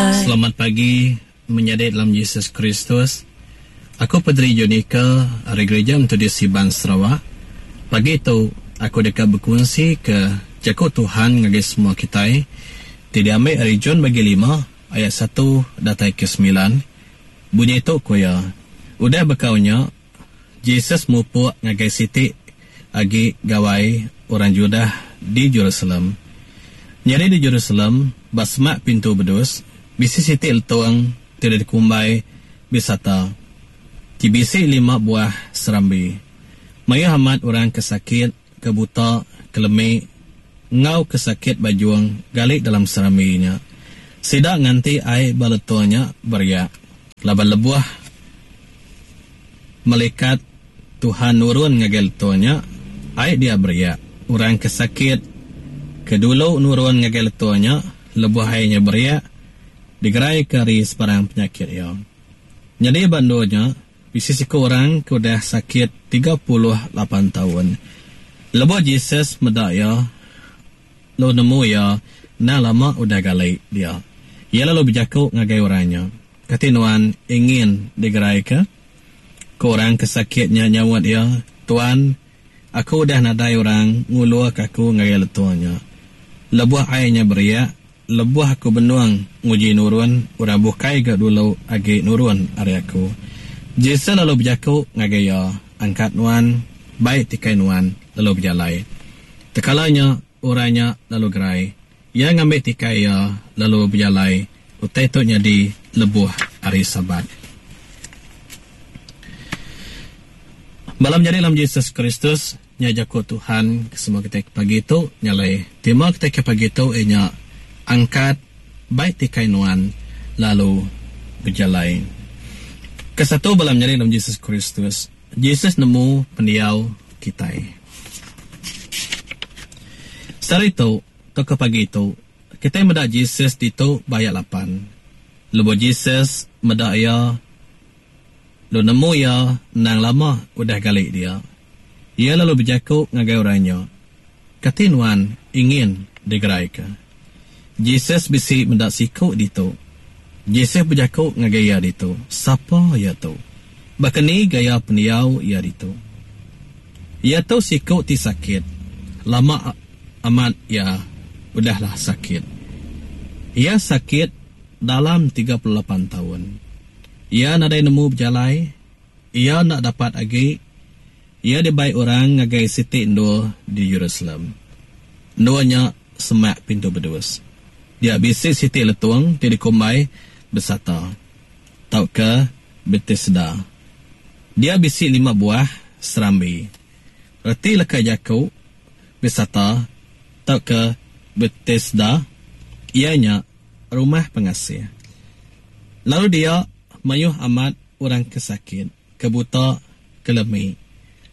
Selamat pagi menyadi dalam Jesus Kristus. Aku Padri Jonica ari Gereja Methodist Iban Sarawak. Pagi tu aku deka bekunsi ke jaku Tuhan ngagai semua kitai ti diambi ari John bagi lima ayat satu datai ke semilan. Bunyi tu ku iya, Udah bekau nya, Jesus mupuk ngagai siti agi gawai orang Judah di Jerusalem. Nyadi di Jerusalem, ba semak Pintu Bedus, bisi siti letung ti udah dikumbai Besata, ti bisi lima buah serambi. Mayuh amat orang ke sakit, ke buta, ke lemi, enggau ke sakit bajung gali dalam serambi nya. Sida nganti ai ba letung nya beriak, laban lebuh melikat Tuhan nurun ngagai letung nya, ai dia beriak. Orang ke sakit ke dulu nurun ngagai letung nya lebuh ai nya beriak, digeraika ari sebarang penyakit iya. Nyadi ba endur nya, bisi siku orang ke udah sakit 38 taun. Lebuh Jesus meda iya, lalu nemu iya endang lama udah gali dia, iya lalu bejaku ngagai orang nya, Kati nuan ingin digeraika? Ku orang ke sakit nya nyaut iya, Tuan, aku udah nadai orang ngulurka aku ngagai letung nya. Lebuh ai nya beriak, Lebuh aku benung nguji nurun, orang bukai ga dulu agi nurun ari aku. Jesus lalu bejaku ngagai iya, Angkat nuan, bai tikai nuan, lalu bejalai. Tekala nya, orang nya lalu gerai. Iya ngambi tikai iya, lalu bejalai. Utai tu nyadi lebuh Hari Sabat. Bala menyadi dalam Jesus Kristus, Nya jaku Tuhan ke semua kitai ke pagi tu. Nya alai tema kitai ke pagi tu iya nya angkat bai tikai nuan lalu bejalai. Kesatu bala menyadi dalam Jesus Kristus, Jesus nemu pendiau kitai. Sehari tu tauka pagi tu kitai meda Jesus ditu ba ayat lapan. Lebuh Jesus meda iya Lalu nemu iya endang lama udah gali dia. Iya lalu bejaku ngagai orang nya, Kati nuan ingin digeraika? Jesus bisi meda siku ditu. Jesus bejaku ngagai iya ditu, Sapa iya tu? Baka ni gaya pendiau iya ditu? Iya tu siku ti sakit. Lama amat iya udahlah sakit. Iya sakit dalam 38 taun. Iya nadai nemu bejalai, iya enda dapat agi, iya dibai orang ngagai siti endur di Jerusalem. Endur nya semak Pintu Bedus. Dia bisi siti letung ti dikumbai Besata, tauka Betesda. Dia bisi lima buah serambi. Reti leka jaku Besata tauka Betesda iya nya Rumah Pengasih. Lalu dia mayuh amat orang ke sakit, ke buta, ke lemi,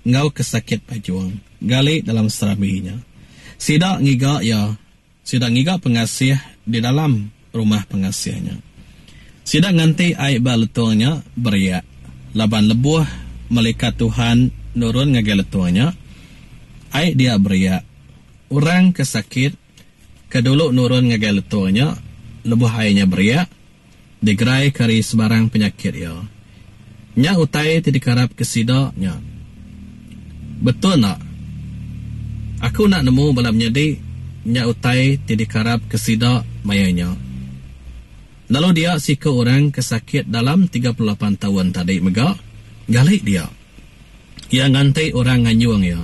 enggau ke sakit pajung gali dalam serambi nya. Sida ngiga iya, sida ngiga pengasih di dalam rumah pengasih nya. Sida nganti ai ba letung nya beriak, laban lebuh melikat Tuhan nurun ngagai letung nya, ai dia beriak. Orang ke sakit ke dulu nurun ngagai letung nya lebuh ai nya beriak, digeraika ari sebarang penyakit iya. Nya utai ti dikarapka sida nya. Betul enda? Aku enda nemu bala menyadi nya utai ti dikarapka sida maya nya. Lalu dia siku orang ke sakit dalam 38 taun tadi mega gali dia. Iya nganti orang nganjung iya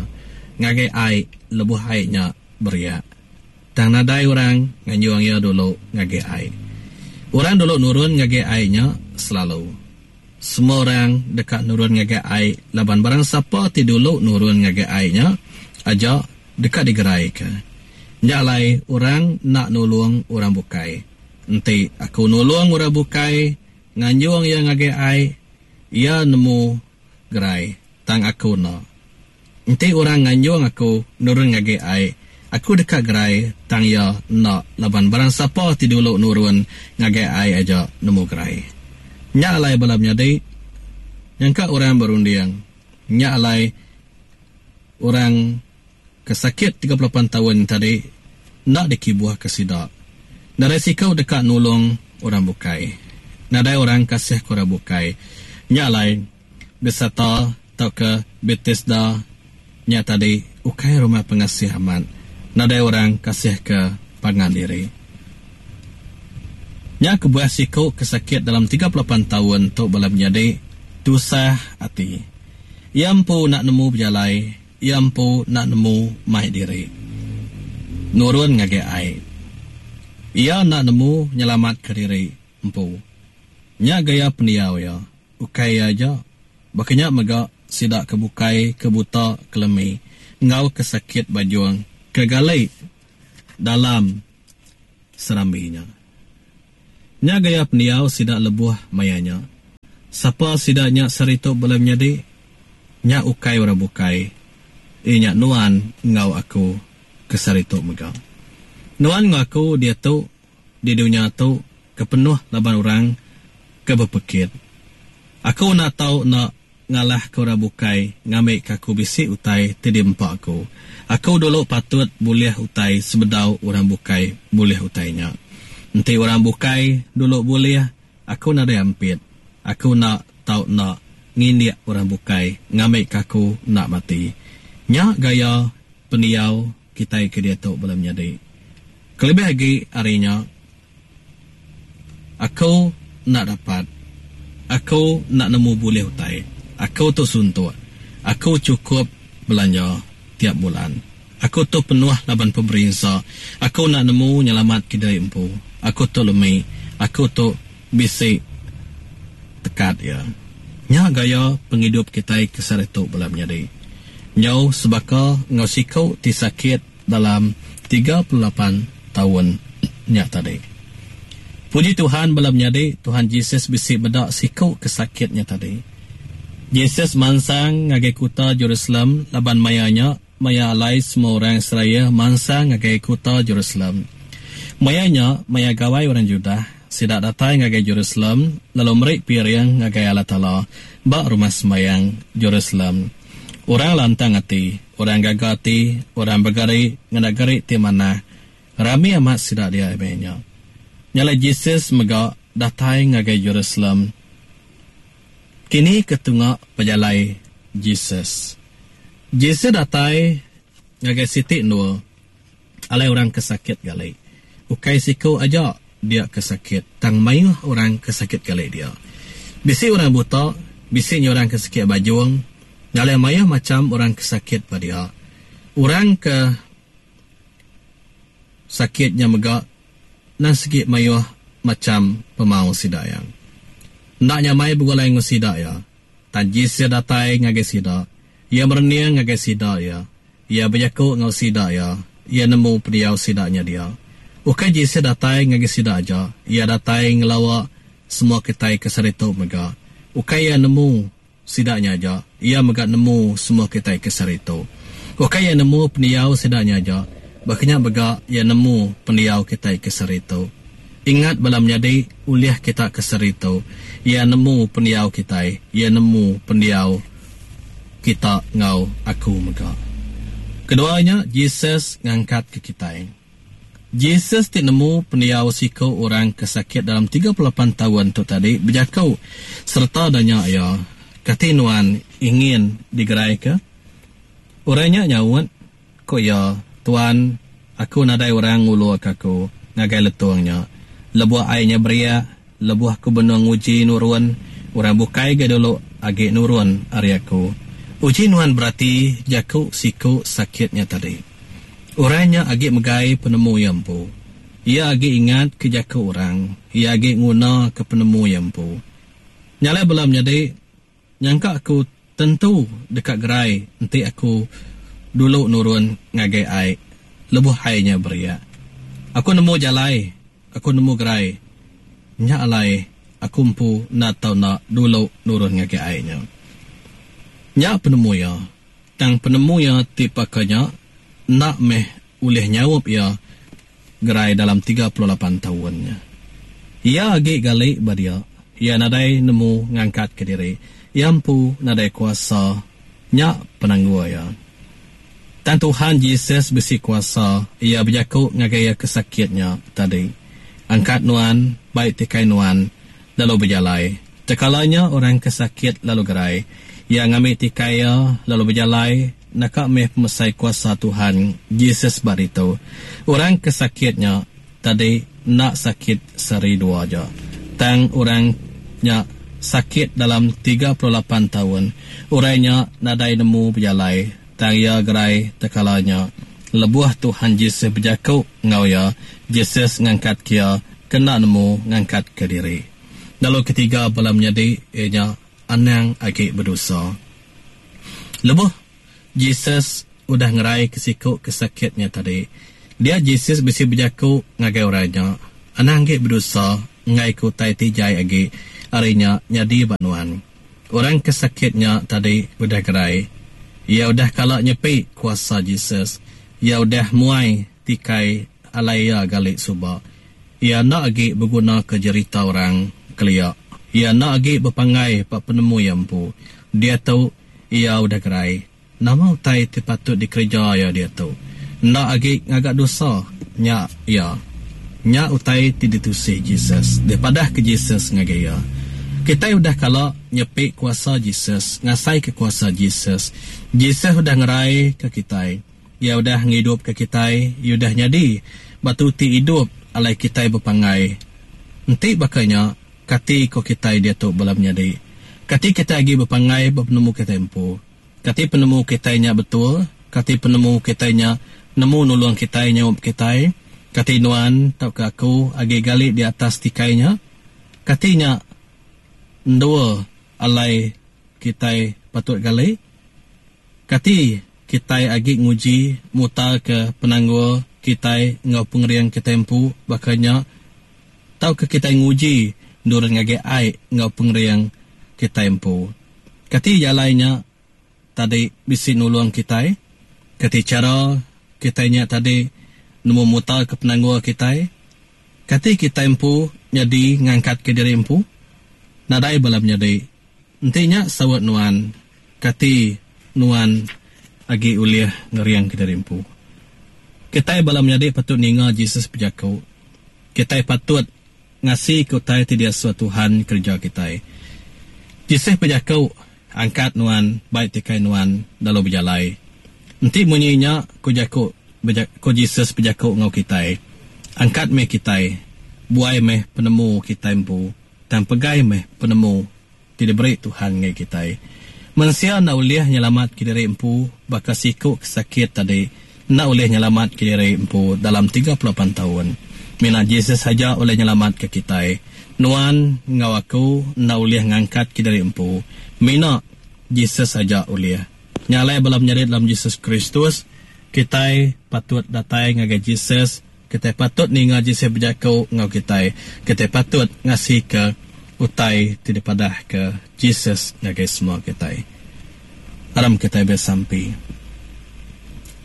ngagai ai lebuh ai nya beriak. Tang nadai orang nganjung iya dulu ngagai ai. Orang dulu nurun ngagai ai nya selalu. Semua orang deka nurun ngagai ai laban barang sapa ti dulu nurun ngagai ai nya aja deka digeraika. Nya alai orang enda nulung orang bukai. Enti aku nulung orang bukai nganjung iya ngagai ai, iya nemu gerai, tang aku enda. Enti orang nganjung aku nurun ngagai ai, aku deka gerai, tang iya enda laban barang sapa ti dulu nurun ngagai ai aja nemu gerai. Nya alai bala menyadi, nyangka orang berunding, nya alai orang ke sakit 38 taun tadi enda dikibuhka sida. Nadai siku deka nulung orang bukai. Nadai orang kasihka orang bukai. Nya alai, Besata tauka Betesda nya tadi ukai rumah pengasih amat. Nadai orang kasihka pangan diri. Nya kebuah siku ke sakit dalam 38 taun tu bala menyadi tusah ati. Iya empu enda nemu bejalai, iya empu enda nemu mai diri nurun ngagai ai. Iya enda nemu nyelamatka diri empu. Nya gaya pendiau iya. Ukai iya aja, baka nya mega sida ke bukai ke buta, ke lemi, enggau ke sakit bajung ke gali dalam serambi nya. Nya gaya pendiau sida lebuh maya nya. Sapa sida nya sehari tu bala menyadi? Nya ukai orang bukai, iya nya nuan enggau aku ke sehari tu mega. Nuan enggau aku diatu di dunya tu ke penuh laban orang ke bepekit. Aku enda tau enda ngalahka orang bukai ngambika aku bisi utai ti diempa aku. Aku dulu patut bulih utai sebedau orang bukai bulih utai nya. Enti orang bukai dulu bulih, aku nadai ampit. Aku enda tau enda ngindik orang bukai ngambika aku enda mati. Nya gaya pendiau kitai ke diatu bala menyadi. Kelebih agi ari nya, aku enda dapat. Aku enda nemu bulih utai. Aku tu suntuk. Aku chukup belanja tiap bulan. Aku tu penuh laban pemerinsa. Aku enda nemu nyelamatka diri empu. Aku tu lemi. Aku tu bisi tekat iya. Nya gaya pengidup kitai ke sehari tu bala menyadi. Nyau sebaka enggau siku ti sakit dalam 38 taun nya tadi. Puji Tuhan bala menyadi, Tuhan Jesus bisi meda siku ke sakit nya tadi. Jesus mansang ngagai kuta Jerusalem laban maya nya maya alai semua orang Israel mansang ngagai kuta Jerusalem. Maya nya, maya gawai orang Judah, sida datai ngagai Jerusalem lalu meri piring ngagai Allah Taala ba Rumah Sembayang Jerusalem. Orang lantang ati, orang gaga ati, orang begari ngena gari ti manah. Rami amat sida dia maya nya. Nya alai Jesus mega datai ngagai Jerusalem. Kini ke tunga pejalai Jesus? Jesus datai ngagai siti endur alai orang ke sakit gali. Ukai siku aja dia ke sakit, tang mayuh orang ke sakit gali dia. Bisi orang buta, bisi nya orang ke sakit bajung, alai mayuh macham orang ke sakit ba dia. Orang ke sakit nya mega nang sigi mayuh macham pemau sida iya. Enda nyamai begulai enggau sida iya. Tang Jesus datai ngagai sida. Iya merening ngagai sida iya. Iya bejaku enggau sida iya. Iya nemu pendiau sida nya dia. Ukai Jesus datai ngagai sida aja, iya datai ngelawa semua kitai ke sehari tu mega. Ukai iya nemu sida nya aja, iya mega nemu semua kitai ke sehari tu. Ukai iya nemu pendiau sida nya aja, baka nya mega iya nemu pendiau kitai ke sehari tu. Ingat bala menyadi ulih kita ke sehari tu, iya nemu pendiau kitai, iya nemu pendiau kita enggau aku mega. Kedua nya, Jesus ngangkatka kitai. Jesus ti nemu pendiau siku orang ke sakit dalam 38 taun tu tadi bejaku sereta nanya iya, Kati nuan ingin digeraika? Orang nya nyaut, Ku iya, Tuan, aku nadai orang nguluka aku ngagai letung nya. Lebuh ai nya beriak, lebuh aku benung nguji nurun, orang bukai ga dulu agi nurun ari aku. Uji nuan berati jaku siku sakit nya tadi. Orang nya agi megai penemu iya empu. Iya agi ingatka jaku orang. Iya agi ngunaka penemu iya empu. Nya alai bala menyadi. Nyangka aku tentu deka gerai enti aku dulu nurun ngagai ai lebuh ai nya beriak. Aku nemu jalai, aku nemu gerai. Nya alai aku empu enda tau enda dulu nurun ngagai ai nya. Nya penemu iya. Tang penemu iya ti baka nya enda meh ulih nyaup iya gerai dalam 38 taun nya. Iya agi gali ba dia. Iya nadai nemu ngangkatka diri. Iya empu nadai kuasa. Nya penanggul iya. Tang Tuhan Jesus bisi kuasa, iya bejaku ngagai iya ke sakit nya tadi. Angkat nuan, bai tikai nuan, lalu bejalai. Tekala nya orang ke sakit lalu gerai. Iya ngambi tikai iya, lalu bejalai, naka meh pemesai kuasa Tuhan Jesus ba ditu. Orang ke sakit nya tadi enda sakit sehari dua aja. Tang orang nya sakit dalam 38 taun. Orang nya nadai nemu bejalai, tang iya gerai tekala nya. Lebuh Tuhan Jesus bejaku enggau iya, Jesus ngangkatka iya ke enda nemu ngangkatka diri. Lalu ketiga bala menyadi iya nya anang agi bedosa. Lebuh Jesus udah ngeraika siku ke sakit nya tadi, dia Jesus bisi bejaku ngagai orang nya, Anang agi bedosa enggaika utai ti jai agi ari nya nyadi ba nuan. Orang ke sakit nya tadi udah gerai. Iya udah kala nyepi kuasa Jesus. Iya udah muai tikai alai iya gali suba. Iya enda agi begunaka jerita orang kelia. Iya enda agi bepanggai ba penemu iya empu. Diatu, iya udah gerai. Nama utai ti patut dikereja iya diatu? Enda agi ngaga dosa. Nya iya. Nya utai ti ditusi Jesus, dipadahka Jesus ngagai iya. Kitai udah kala nyepi kuasa Jesus, ngasaika kuasa Jesus. Jesus udah ngeraika kitai. Iya udah ngidupka kitai. Iya udah nyadi batu ti idup alai kitai bepanggai. Enti baka nya, kati ko kitai diatu bala menyadi? Kati kitai agi bepanggai ba penemu kitai empu? Kati penemu kitai nya betul? Kati penemu kitai nya nemu nulung kitai nyaup kitai? Kati nuan tauka aku agi gali di atas tikai nya? Kati nya endur alai kitai patut gali? Kati kitai agi nguji mutarka penanggul kitai enggau pengering kitai empu baka nya tauka kitai nguji nurun ngagai ai enggau pengering kitai empu? Kati jalai nya tadi bisi nulung kitai? Kati chara kitai nya tadi nemu mutarka penanggul kitai? Kati kitai empu nyadi ngangkatka diri empu? Nadai bala menyadi. Enti nya saut nuan, kati nuan agi ulih ngeringka diri empu? Kitai bala menyadi patut ninga Jesus bejaku. Kitai patut ngasika utai ti diasuh Tuhan kereja kitai. Jesus bejaku, Angkat nuan, bai tikai nuan, lalu bejalai. Enti munyi nya, ku jaku ku Jesus bejaku enggau kitai, Angkat meh kitai, buai meh penemu kitai empu, tang pegai meh penemu ti diberi Tuhan ngagai kitai. Mensia enda ulih nyelamatka diri empu baka siku ke sakit tadi enda ulih nyelamatka diri empu dalam 38 taun. Mina Jesus aja ulih nyelamatka kitai. Nuan enggau aku enda ulih ngangkatka diri empu. Mina Jesus aja ulih. Nya alai bala menyadi dalam Jesus Kristus, kitai patut datai ngagai Jesus Kitai patut ninga Jesus bejaku enggau kitai. Kitai patut ngasika utai ti dipadahka Jesus ngagai semua kitai. Aram kitai besampi.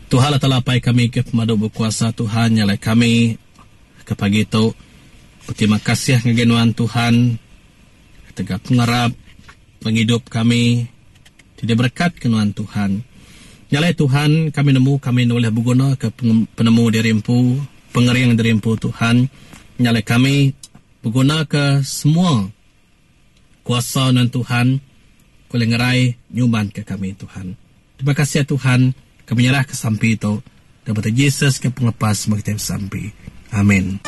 Tuhan Allah Taala Apai kami ke pemadu bekuasa Tuhan nya alai kami ke pagi tu beterima kasih ngagai nuan Tuhan ketegal pengarap pengidup kami ti diberekatka nuan Tuhan. Nya alai Tuhan, kami nemu kami enda ulih begunaka penemu diri empu, pengering diri empu Tuhan. Nya alai kami begunaka semua kuasa nuan Tuhan ke ulih ngerai nyumanka kami Tuhan. Terima kasih Tuhan, kami nyerahka sampi tu dalam nama Jesus ke pengelepas semua kitai besampi. Amin.